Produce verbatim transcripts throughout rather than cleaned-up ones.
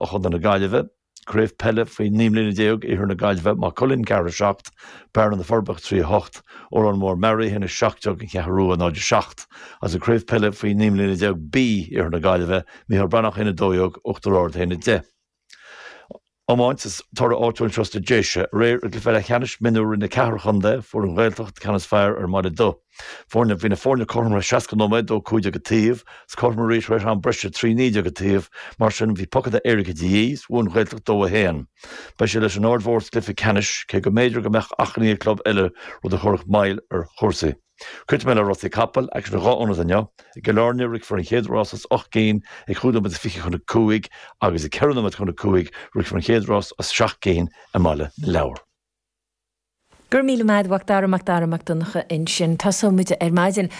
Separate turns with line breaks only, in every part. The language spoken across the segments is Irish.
ó Chontae na Gaillimhe. Craobh peile faoi naoi mbliana déag Iarthar na Gaillimhe, Maigh Cuilinn ceathair a seacht, Bearna na Forbacha trí a hocht, Órán Mór Mearaí a haon a seacht déag, An Cheathrú Rua náid a seacht. Agus an Craobh peile faoi naoi mbliana déag B Iarthar na Gaillimhe, Micheál Breathnach a haon a dó dhéag, Uachtar Ard a haon a deich. Iomáint is toradh áitiúil anseo sna Déise. Aréir i gcluiche leathcheannais mionúr Roinn a Ceathair Chontae, fuair an Ghaeltacht ceann is fearr ar an mBaile Dubh. Foirne, Bhí na foirne cothrom le seasca nóiméad, dó cúig déag an taobh, is cothrom arís tar éis am breise, trí naoi déag an taobh. Mar sin, bhí pocanna éirice de dhíth, is bhuaigh an Ghaeltacht dó a haon. Beidh sé leis an Aird Mhór sa gcluiche ceannais, cé go mb'fhéidir go mbeadh achainí ag club eile, rud a chuirfeadh moill ar chúrsaí. Críochnóidh mé le rásaí capall, aicsean i dhá ionad inniu. I gCill Airne, rithfear an chéad rás as ocht gcinn ag chúig nóiméad is fiche chun a cúig agus ag ceithre nóiméad chun a cúig rithfear an chéad rás as seacht gcinn i mBaile na Lobhar.
Go raibh míle maith agat a Mhac Dara, Mac Dara Mac Donncha ansin. Tosóidh muid ar maidin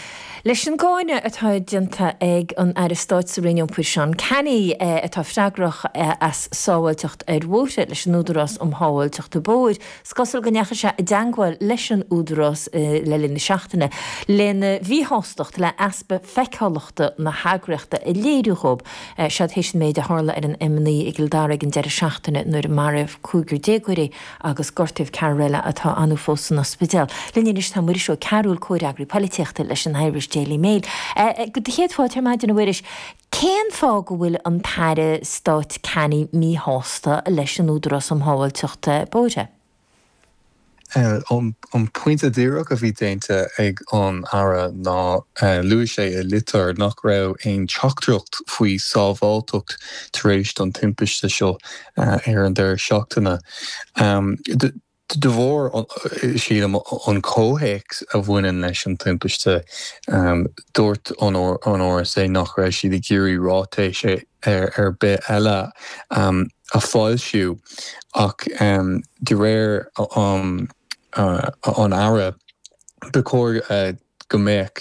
leis an gcáineadh atá déanta ag an Aire Stáit sa Roinn Iompair Seán Canney atá freagrach as sábháilteacht ar bhóithre leis an Údarás um Shábháilteacht Bóthair. Is cosúil go ndeachaigh sé i dteangmháil leis an Údarás le linn na seachtaine lena mhíshástacht le easpa feiceálachta na heagraíochta a léiriú dhóibh. Seo théis an méid a tharla ar an M naoi i gCill Dara ag an deireadh seachtaine nuair a maraíodh cúigear déagóirí agus gortaíodh ceathrar eile atá annamh fós san ospidéal. Linn anois tá Muiris Ó Cearúil, comhfhreagraí polaitíochta leis an Irish Daily Mail. Do chéad fáilte ar maidin a Mhuiris. Cén fáth go bhfuil an tAire Stáit Canney míshásta leis an Údarás um Shábháilteacht Bóithre?
An pointe díreach a bhí déanta ag an Aire ná luaigh sé i litir nach raibh aon teachtaireacht faoi sábháilteacht tar éis don timpiste seo ar an deireadh seachtaine. De bharr, sílim, an comhthéacs a bhaineann leis an timpiste, dúirt an R S A nach raibh siad ag iarraidh ráitéis ar bith eile a foilsiú ach de réir an Aire ba chóir go mbeadh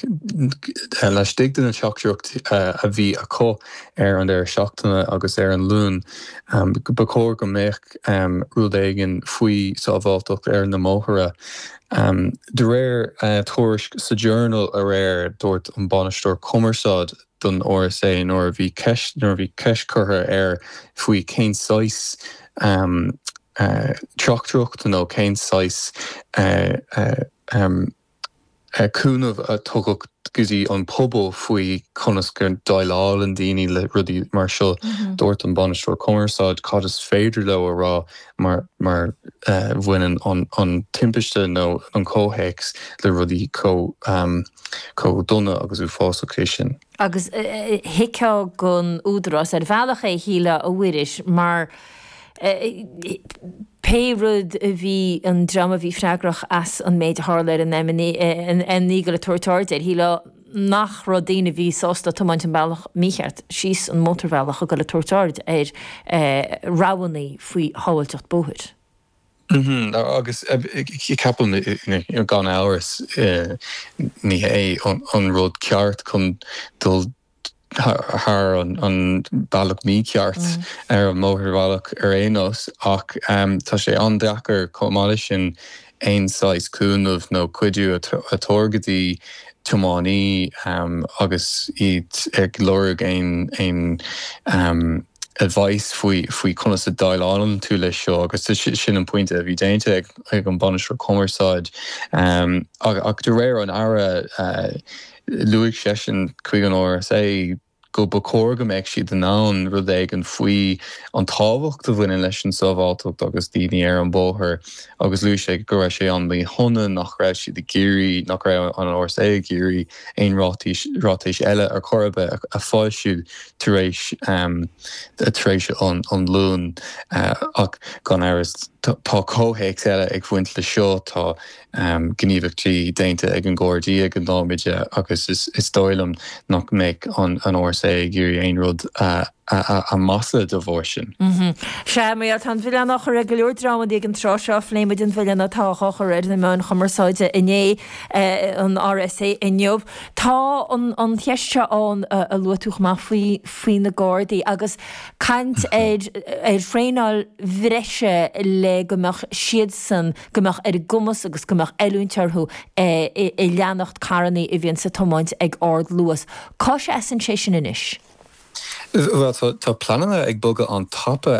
laistigh de na teachtaireachtaí a bhí acu ar an deireadh seachtaine agus ar an Luan, ba chóir go mbeadh rud éigin faoi sábháilteacht ar na mbóithre. De réir tuairisc sa Journal aréir, dúirt an bainisteoir cumarsáid don R S A nuair a bhí ceist nuair a bhí ceist curtha air faoi cén saghas teachtaireacht nó cén saghas cúnamh a tugadh go dtí an pobal faoi conas go déileálann daoine le rudaí mar seo. Dúirt an bainisteoir cumarsáid cad is féidir leo a rá mar mar bhaineann an an timpiste nó an comhthéacs le rudaí chomh chomh dona agus uafásach é sin.
Agus thuigfeá don Údarás ar bhealach é, shílfeá, a Mhuiris, mar pé rud a bhí an dream a bhí freagrach as an méid a tharla ar an M naoi ag goil ag tabhairt aird air, shílfeá nach raibh daoine a bhí sásta tiomáint an bealach mícheart síos an mótarbhealach ag goil ag tabhairt aird ar rabhanna faoi shábháilteacht bóthair.
Agus ceapaim gan amhras ní hé an rud ceart chun dul thar an bealach mícheart ar an mótarbhealach ar aon nós ach tá sé an-deacair chomh maith leis sin aon saghas cúnamh nó cuidiú a thabhairt go dtí tiománaí agus iad ag lorg aon aon advice faoi faoi conas a déileálann tú leis seo agus sin an pointe a bhí déanta ag ag an bainisteoir cumarsáid ach de réir an Aire luaigh seisean chuig an R S A go ba chóir go mbeadh siad in ann rud éigin faoi an tábhacht a bhaineann leis an sábháilteacht agus daoine ar an bóthar agus luaigh sé go raibh sé an-mhíshona nach raibh siad ag iarraidh nach raibh an R S A ag iarraidh aon ráitis ráitéis eile ar chor ar bith a foilsiú tar éis tar éis an an Luan ach gan amhras tá comhthéacs eile ag baint le seo. Tá gníomhaíochtaí déanta ag an Gardaí ag an nóiméad agus is dóigh liom nach mbeidh an R S A ag iarraidh aon rud a mhaslú de bharr sin.
Sea, mar tá an milleán á chur ag go leor dreamanna ag an tráth seo. Phléigh muid an milleán atá á chur ar na meáin chumarsáide inné, an R S A inniu. Tá an cheist seo ann a luaigh tú chomh maith faoi faoi na Gardaí agus caint ar ar thraenáil bhreise le go mbeadh siadsan, go mbeadh ar a gcumas agus go mbeadh oiliúint orthu i leanacht carrannaí a bhíonns ag tiomáint ag ardluas. Cá seasann sé sin anois?
Well tá pleananna ag bogadh an-tapa